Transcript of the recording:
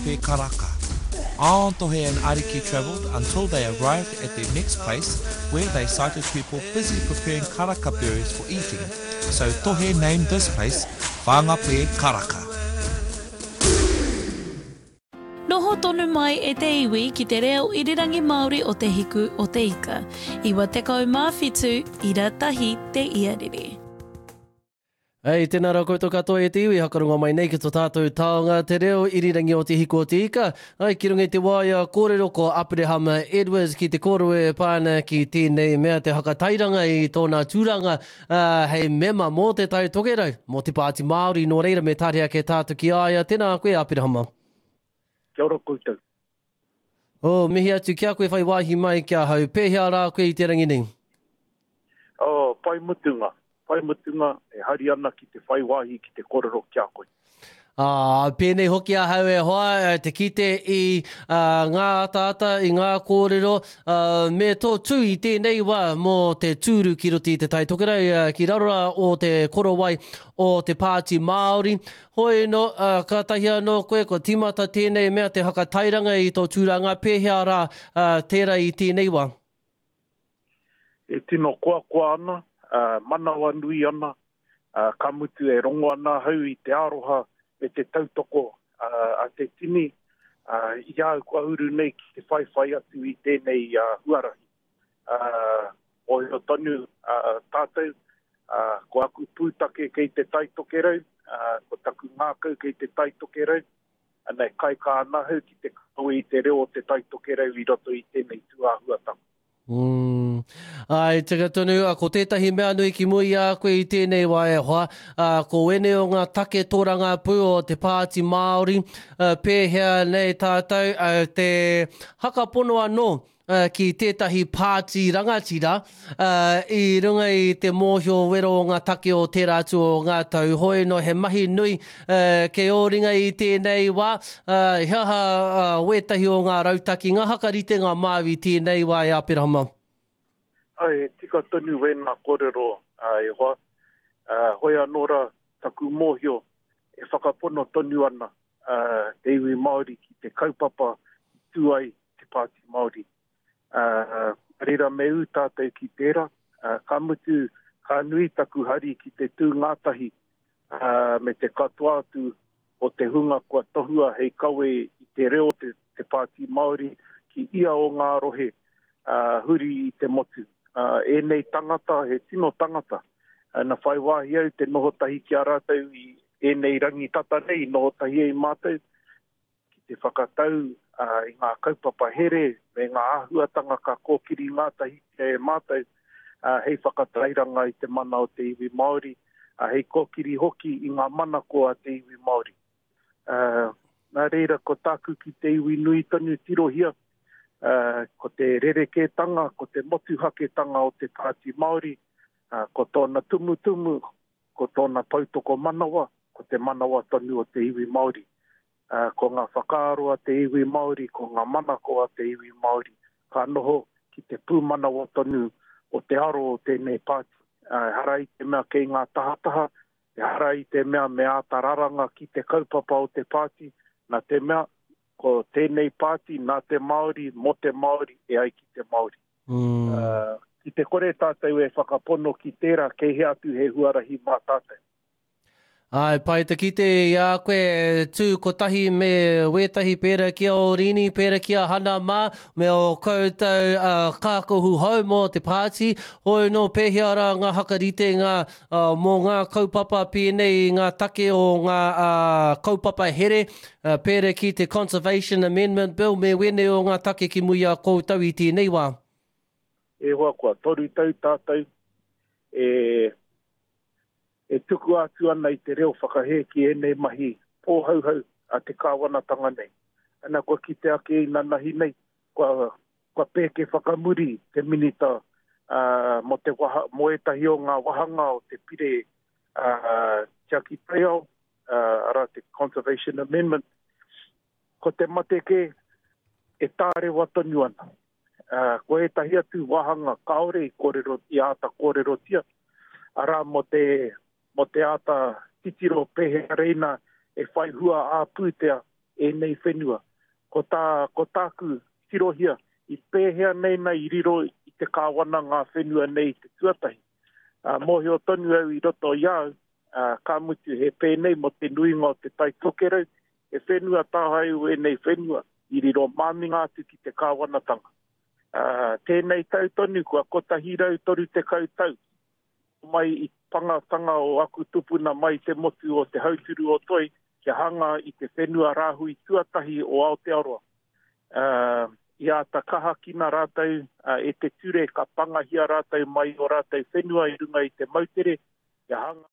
Whangape Karaka. On Tohe and Ariki travelled until they arrived at their next place where they sighted people busy preparing karaka berries for eating. So Tohe named this place Whangape Karaka. Noho tonu mai e te iwi ki te reo irirangi Māori o Te Hiku o Te Ika. 97 ira tahi te iarere. Hei, tēnā rā koutou katoa e te iwi, hakarongo mai nei ki to tātou taonga te reo irirangi o Te Hiku o Te Ika. Ai, ki runga i te waea kōrero ko Aperehama Edwards ki te kōrero e pā ana ki tēnei mea te hakatairanga i tōna tūranga hei mema mō Te Tai Tokerau, mō te Pāti Māori, nō reira me tāria ake tātou ki a ia. Tēnā koe Aperehama. Kia ora koutou. Oh, mihi atu ki a koe whai wāhi mai ki ahau. Pēhea rā koe i te rangi nei? Oh, pai mutunga. Pai mutunga, e hari ana ki te whai wāhi ki te korero ki a koe. Ā, pēnei hoki ahau e hoa, te kite i ngā ataata, i ngā kōrero, me tō tū i tēnei wā mō te tūru ki roto i Te Tai Tokerau, ki raro rā o te korowai o te Pāti Māori. Hoi anō, ā, kātahi anō koe kua tīmata tēnei mea te whakatairanga i tō tūranga, pēhea rā, ā, tērā i tēnei wā? E tino koakoa ana, ā, manawanui ana, ā, ka mutu e rongo ana ahau i te aroha me te tautoko, ā, a te tini, ā, i a au kua uru nei ki te whaiwhai atu i tēnei, ā, huarahi. Ā, mōhio tonu tātou, ā, ko aku pūtake kei Te Tai Tokerau, ā, ko taku ngākau kei Te Tai Tokerau, ana e kaikā ana ahau ki te kawe i te reo o Te Tai Tokerau i roto i tēnei tūāhuatanga. Mm. Ai, tika tonu, ko tētahi mea nui ki mua i a koe i tēnei wā e hoa, ā, ko ēnei o ngā take tōrangapū o te Pāti Māori, ā, pēhea nei tātou, ā, te hakapono anō, ki tētahi pāti rangatira i runga i te mōhio wero o ngā take o tērā atu o ngā tau. Hoi anō, he mahi nui kei ō ringa i tēnei wā. He aha wētahi o ngā rautaki, ngā hakaritenga māu i tēnei wā e Aperahama? Āe, he tika tonu wēnā kōrero e hoa. Hoi anō rā taku mōhio e whakapono tonu ana te iwi Māori ki te kaupapa i tū ai te Pāti Māori. Ā, reira me ū tātou ki tērā, ā, ka mutu, ka nui taku hari ki te tū ngātahi, ā, me te katoa atu o te hunga kua tohua hei kawe i te reo o te, te Pāti Māori ki ia o ngā rohe, ā, huri i te motu. Ā, ēnei tangata, he tino tangata. Ā, na whai wāhi au te noho tahi ki a rātou i ēnei rangi tata nei i noho tahi ai mātou, ki te whakatau i ngā kaupapa here me ngā āhuatanga ka kōkiri ngātahitia e mātou hei whakatairanga i te mana o te iwi Māori, hei kōkiri hoki i ngā manako a te iwi Māori. Nā reira, ko tāku ki te iwi nui tonu tirohia, ko te rerekētanga, ko te motuhaketanga o te Pāti Māori, ko tōna tumutumu, ko tōna poutokomanawa, ko te manawa tonu o te iwi Māori. Ko ngā whakaaro a te iwi Māori, ko ngā manako a te iwi Māori, ka noho ki te pūmanawa tonu o te aro o tēnei pāti. Ehara i te mea kei ngā tahataha, ehara i te mea me āta raranga ki te kaupapa o te pāti, nā te mea ko tēnei pāti nā te Māori, mō te Māori, e ai ki te Māori. Ki te kore tātou e whakapono ki tērā, kei hea atu he huarahi mā tātou. Āe, pai te kite i a koe e tū kotahi me wētahi pērā ki a Orini, pērā ki a Hana mā, me ō koutou kākahu hou mō te pāti. Hoi nō pēhea rā ngā hakaritenga mō ngā kaupapa pēnei i ngā take o ngā kaupapa here, pērā ki te Conservation Amendment Bill me wēnei o ngā take ki mua i a koutou i tēnei wā? E hoa, kua toru tau tātou e e tukua atu ana i te reo whakahē ki ēnei mahi pōhauhau a te kāwanatanga nei. Ana kua kite ake inanahi nei, kua, kua pēke whakamuri te Minita uh, mō, te waha, mō ētahi o ngā wahanga o te pire uh, tiaki taiao, uh, arā te Conservation Amendment. Ko te mate kē, e tārewa tonu ana. Ko ētahi atu wāhanga kāore i kōrero, i āta kōrerotia, arā mō te, mō te āta titiro pēhea reina e whai hua ā-pūtea ēnei whenua. Ko tā, ko tāku tirohia, i pēhea nei na i riro i te kāwana ngā whenua nei i te tuatahi. Ā, mōhio tonu au i roto i a au, ā, ka mutu he pēnei mō te nuinga o Te Tai Tokerau, he whenua tāhae ēnei whenua i riro māminga atu ki te kāwanatanga. Ā, tēnei tau tonu kua 130 tau mai i pangatanga o aku tupuna mai te motu o Te Hauturu o Toi kia hanga i te whenua rāhui tuatahi o Aotearoa. Ā, i āta kahakina rātou e te ture ka pangahia rātou mai o rātou whenua i runga i te moutere kia hanga.